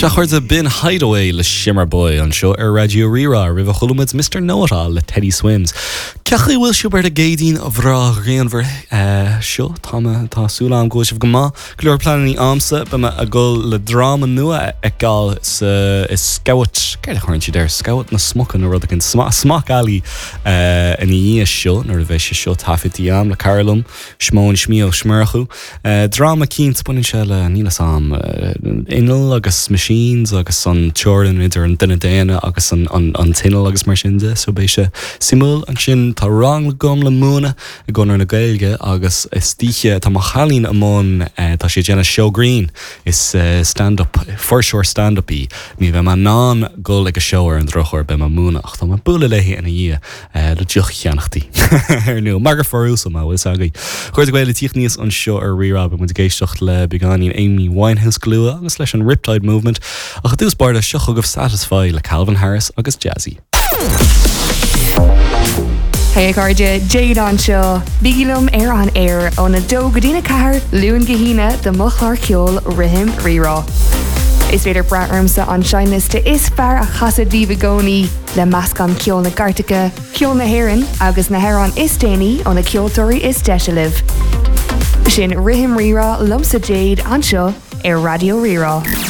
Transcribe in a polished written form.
Sea, a chairde, b'in Hideaway le Shimmerboy anseo ar Raidió Rí-Rá. Roimhe chuala muid Mister Know It All le Teddy Swims. Cén chaoi a bhfuil sibh ar an gCéadaoin bhreá ghrianmhar seo? Tá mé, tá súil agam go bhfuil sibh go maith. Go leor pleananna a'msa, beidh mé ag dul le dráma nua a fheiceáil sa, i Scabhat, céard a chuireann siad air, Scabhat na Smoca nó rud éigin, Smock Alley ina dhiaidh seo nuair a bheidh sé seo taifeadta a'm le cara liom, Siomón Smí Ó Murchú. Dráma cinnte, baineann sé le, níl 'fhios a'm, innill agus machines agus an teorainn idir an duine daonna agus an t-inneall agus mar sin de, so beidh sé suimiúil. Ansin tá rang agam le múineadh i gConradh na Gaeilge agus istoíche tá mo chailín i mbun, tá sí ag déanamh seó grinn, is stand up, fuirseoir stand up í. Ní bheidh mé in ann dul ag a seó ar an drochuair, beidh mé ag múineadh ach tá mé ag bualadh léi ina dhiaidh. le deoch a cheannach di. Ar ndóigh, mar gur fear uasal mé, bhfuil 'fhios agaibh. A chairde Gael ag tíocht aníos anseo ar Rí-Rá, beidh muid ag éisteacht le beagáinín Amy Winehouse go luath agus leis an Riptide Movement, ach i dtús báire, seo chugaibh Satisfy le Calvin Harris agus Jazzy. Hey a chairde, Jade anseo. Bígí liom ar an aer óna 2 go dtína 4, Luan go hAoine do mo chlár ceoil Rithim Rí-Rá. Is féidir brath ormsa an seinnliosta is fearr a chasadh daoibh i gcónaí. Le meascán ceol na gcairteacha, ceol na hÉireann agus na hamhráin is déanaí ó na ceoltóirí is deise libh. Sin Rithim Rí-Rá liomsa Jade anseo ar Raidió Rí-Rá.